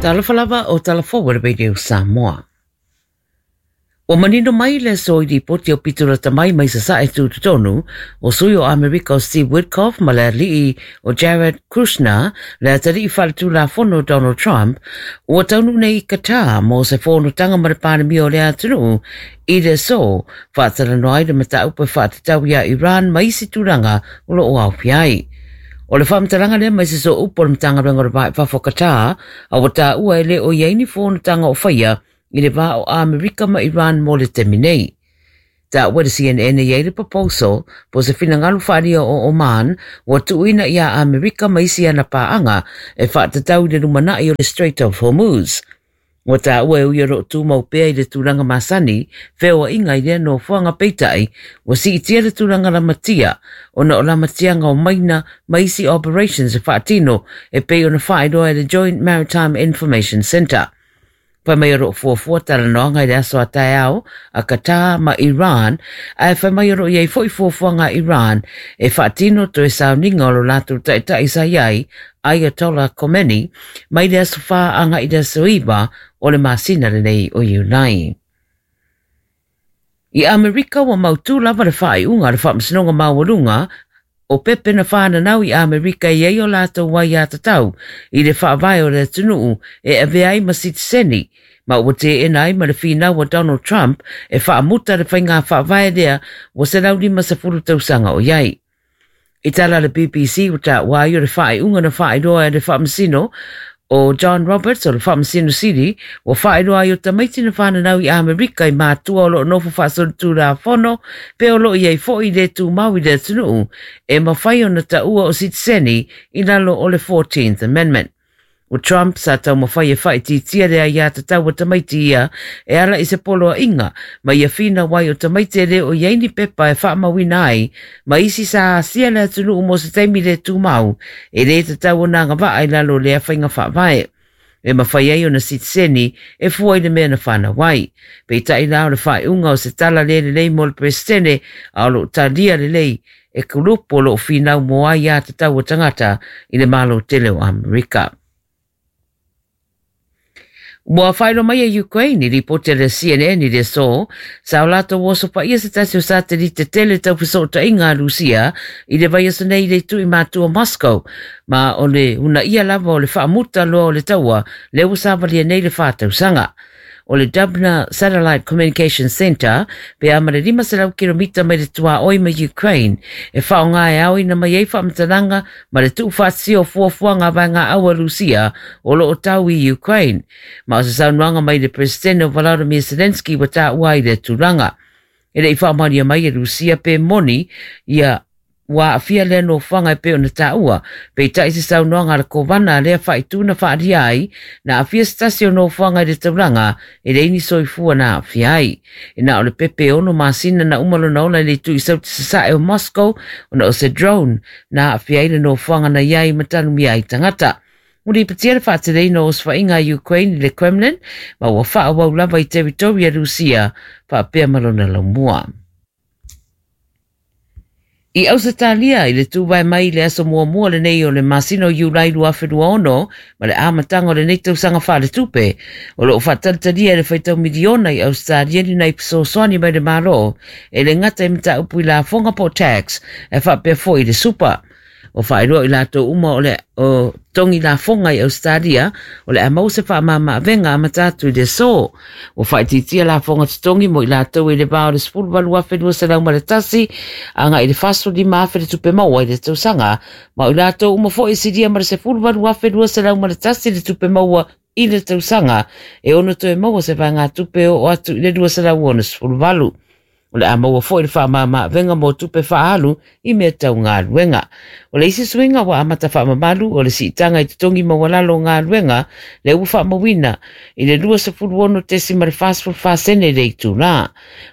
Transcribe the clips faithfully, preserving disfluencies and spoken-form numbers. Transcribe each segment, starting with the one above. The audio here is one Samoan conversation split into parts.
Talofa lava o Tala Forward Radio Samoa. Ua manino mai le aso i lipoti aupito lata mai mai Sasae Tutotonu o sui o Amerika o Steve Witkoff ma le ali'i o Jared Kushner le atalii faaletulafono Donald Trump ua taunuu nei i Qatar mo se fonotaga ma le Palemia o le atunuu i le aso faatalanoa ai le mataupu e faatatau iā Iran ma isi tulaga o loo aofia ai. O le faamatalaga lea mai se sooupu o le Matagaluega o le Va i Fafo o Qatar, a ua taua e le o i ai ni fonotaga o faia i le va o Amerika ma Iran mo le taimi nei. Taua e le C N N e i ai le proposal po se finagalo faaalia o Oman ua tuuina iā Amerika ma isi ana paaga e faatatau i le lumanai o le Strait of Hormuz. Ua taua e ui o loo tumau pea i le tulaga masani, feoaiga i lea nofoaga peitai, ua siitia le tulaga lamatia ona o lamatiaga o maina ma isi operations e faatino e pei ona faailoa e le Joint Maritime Information Centre. Fai mai o loo fuafua talanoaga i le aso a taeao a Qatar ma Iran, ae fai mai o loo i ai foi fuafuaga a Iran e faatino toe sauniga o lo latou taitai sa i ai, Ayatollah Khomeini, mai le aso whā anga i le aso iwa o le masina lenei o Iulai. I Amerika ua mautū lava le faaiuga a le Faamasinoga Maualuga o pepe na whānanau i Amerika i ai o latou aiatatau i le faavae o le atunuu e avea ai ma sitiseni, ma ua teena ai ma le finau a Donald Trump e faamuta le faiga faavae lea ua selau limasefulu tausaga o i ai. I tala le B B C ua taua ai o le faaiuga na faailoa e le Faamasino o John Roberts o le Faamasino Sili ua faailoa ai o tamaiti na whananau i Amerika i mātua o loo nofo faasolitulafono pe o loo i ai foi le tumau i le atunuu e mafai ona taua o sitiseni i lalo o le fourteenth Amendment. O Trump sa taumafai e faaitiitia le aiatatau a tamaiti ia e ala i se poloaiga ma ia finau ai o tamaiti e le o i ai ni pepa e faamauina ai ma isi sa asia le atunuu mo se taimi le tumau e le tatau ona agavaa i lalo o lea faiga faavae. E mafai ai ona sitiseni e fua i le mea na whanau ai. Peitai la o le faaiuga o se tala le lelei mo le Presidente a o loo talia lelei e kulupu o loo finau mo aiatatau a tagata i le Malo tele o Amerika. Ua faailoa mai e Ukraine i lipoti a le C N N i le aso, sa o latou oso paia se tasi o satelite tele taufesootaiga a Rusia i le vaiaso nei i le itu i matua Moscow, ma o le unaia lava o le faamuta loa o le taua le ua savalia nei le whātausaga. O le Dubna Satellite Communication Center pe a ma le lima selau kilomita mai le tuaoi ma Ukraine e whaonga e aoina mai ai faamatalaga ma le tuufaatasia o fuafuaga a vaega au a Rusia o loo tau i Ukraine. Ma o se saunoaga mai le Presidente o Volodymyr Zelensky ua taua ai le tulaga. E le i faamaonia mai e Rusia pe moni ia ua aafia lea nofoaga e pei ona taua, peitai se saunoaga a le kovana a lea faaituna faalia ai, na aafia se tasi o nofoaga i le taulaga e leai ni soifua na aafia ai. E na o le pepe e ono masina na uma lona ola i le itu i sauti sasae o Moscow ona o se drone na aafia ai le nofoaga na i ai ma tanumia ai tagata. Ua lipotia le faateleina o osofaiga a Ukraine i le Kremlin ma ua faaauau lava i teritori a Rusia faapea ma lona laumua. I Ausetalia i le tuvae mai i le aso muamua lenei o le masina o Iulai lua afe lua ono ma le amataga o lenei tausaga faaletupe o loo faatalitalia e le faitau miliona i Ausetalia ni nai fesoasoani mai le Malo e le gata i mataupu i lafoga po o tax e faapea foi i le super. O faailoa i latou uma o le o togi lafoga i Australia o le a maua se faamamaavega amata atu i le aso. Ua faaitiitia lafoga totogi mo i latou i le va o le sefulu valu afe lua selau ma le tasi agai i le fasefulu lima afe le tupe maua i le tausaga ma o i latou uma foi e silia ma le sefulu valu afe lua selau ma le tasi le tupe maua i le tausaga e ono toe maua se vaegatupe oo atu i le lua selau onosefulu valu. O le a maua foi le faamamaavega mo tupe faaalu i mea tau galuega. O le isi suiga ua amata faamamalu o le siitaga i totogi maualalo o galuega le ua faamauina i le luasefulu ono tesima le fasefulu fa sene le itulā.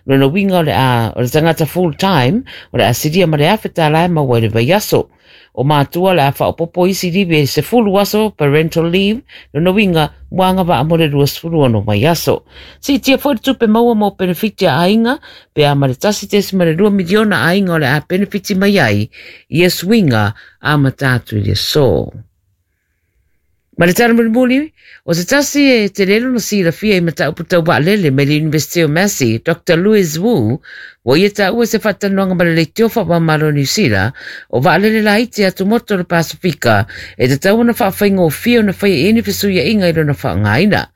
Lona uiga o le a o le tagata full time o le a silia ma le afe tālā e maua i le vaiaso. O mātua le a faaopopo isi livi e sefulu aso parental leave, lona uiga ua agavaa mo le luasefulu ono vaiaso. Siitia foi le tupe maua mo penefiti a aiga pe a ma le tasi tesima le lua miliona aiga o le a penefiti mai ai ia suiga amata atu i le aso. Ma le tala mulimuli, o se tasi e te lelo na silafia i mataupu tau vaalele mai le University o Massey, Doctor Louis Wu, ua ia taua se faatalanoaga ma le leitio faamamalo o Niu Sila, o vaalele laiti atumotu o le Pasifika e tatau ona faafaigofie ona faia i ai ni fesuiaiga i lona faaaogaina.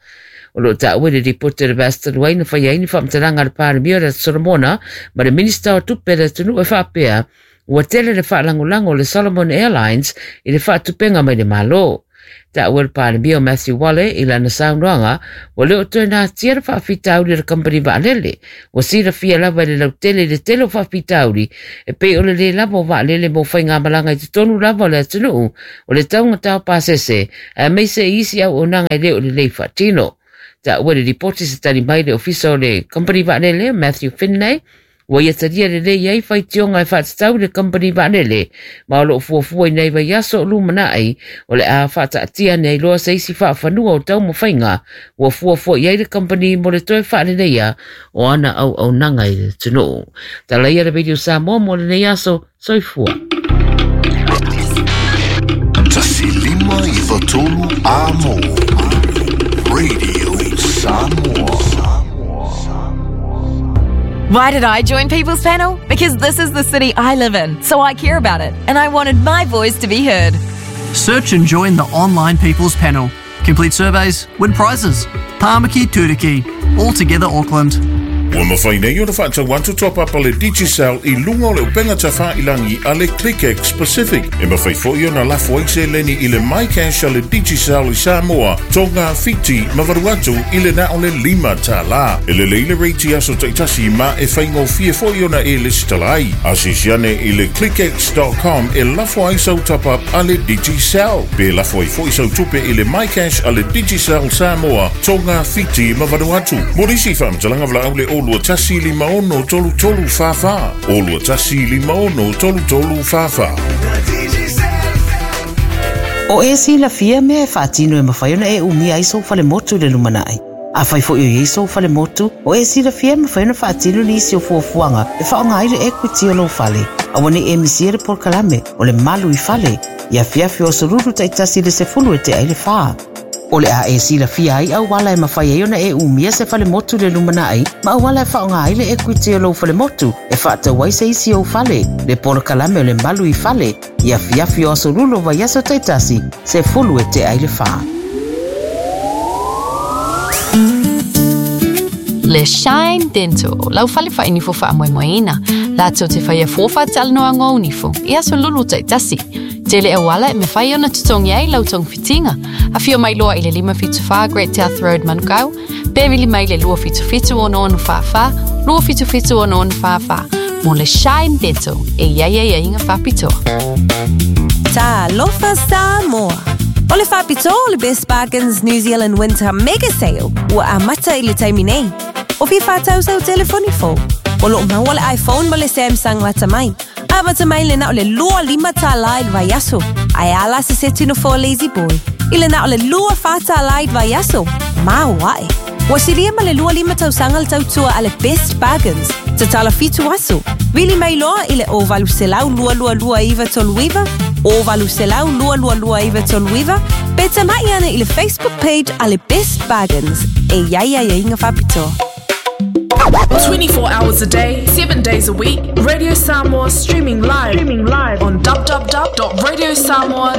O loo taua i le lipoti o le vaiaso talu ai na faia ai ni faamatalaga a le Palemia o le Atu Solomona ma le Minista o Tupe a le atunuu e faapea, ua tele le faalagolago o le Solomon Airlines i le faatupeina mai le Malo. Taua e le Palemia o Matthew Wale i lana saunoaga, ua le o toe natia le faafitauli o le kamupani vaalele. Ua silafia lava i le lautele i le tele o faafitauli e pei o le lē lava o vaalele mo faigamalaga i totonu lava o le atunuu, o le taugata o pasese, aemaise i isi auaunaga e le o lelei faatino. Taua i le lipoti se tali mai le ofisa o le kamupani vaalele Matthew Finlay, ua ia talia lelei ai faitioga e faatatau i le kamupani vaalele, ma o loo fuafua i nai vaiaso o lumanai o le a faataatia ane ai loa se isi faafanua o taumafaiga ua fuafua i ai le kamupani mo le toe faaleleia o ana auaunaga i le atunuu. Talaia le Radio Samoa mo lenei aso, soifua. Tasi lima iva tolu A M O Radio Samoa. Why did I join People's Panel? Because this is the city I live in, so I care about it, and I wanted my voice to be heard. Search and join the online People's Panel. Complete surveys, win prizes. Tāmaki Turuki. All together Auckland. Ua mafai nei ona faatau atu top-up a le Digicel i luga o le upega tafailagi a le ClickX Pacific. E mafai foi ona lafo ai seleni i le MyCash a le Digicel i Samoa, Tonga, Fiti ma Vanuatu i le na o le lima tālā. E lelei le rate aso taitasi ma e faigofie foi ona e lesitala ai. Asiasi ane i le clickx dot com e lafo ai sau top-up a le Digicel. Pe lafo ai foi sau tupe i le MyCash a le Digicel Samoa, Tonga, Fiti ma Vanuatu. Mo nisi faamatalaga valaau le o lua tasi lima ono tolu tolu wha wha. O lua tasi lima ono tolu tolu wha wha. O e silafia mea e faatino e mafai ona e umia ai sou falemotu i le lumanai. Afai foi o iai sou falemotu, o e silafia e mafai ona faatino nisi o fuafuaga e faaaoga ai le equity o lou fale. Aua nei e misia le polokalame o le malu i fale, i afiafi o asolulu taitasi le sefulu e tea ai le wha. O le a e silafia ai auala e mafai ai ona e umia se falemotu le lumanai, ma auala e faaaoga ai le equity o lou falemotu e faatau ai se isi ou fale, le polokalame o le malu i fale, i afiafi o asolulu o vaiaso taitasi, sefulu e tea ai le wha. Le Shine Dental, lau fale whainifo whaamoemoeina, lātou te whaia fōwha talanoa ngō nifo, i aso lulu taitasi. Tele auala e mawhai ona tutongi ai lau tong fitinga. A whio mai loa i le lima fitu wha Great South Road Manukau, pe vili mai le lua fitu fitu ono ono wha wha, lua fitu fitu ono ono wha wha. Mo le Shine Dental, e ia ia ia inga whapitoa. Ta lofa Samoa. O le whapitoa o le Best Bargains New Zealand Winter Mega Sale ua amata i le taimi nei. O fia whātau sau telefoni fō. O loo maua le iPhone ma le Samsung lata mai. Amata mai le nao le lua lima tālā i le vaiaso. Ae ala se setino fō Lazy Boy. I le nao le lua whā tālā i le vaiaso. Mau ae. Ua siria ma le lua lima tausaga le tautua a le Best Bargains. Tatala fitu aso. Vili mai loa i le o valu selau lua lua lua iwa tolu iwa, o valu selau lua lua lua iwa tolu iwa, pe tamai ane i le Facebook page a le Best Bargains. E iai ai inga whapitoa. twenty-four hours a day, seven days a week, Radio Samoa streaming live, streaming live on w w w dot radio samoa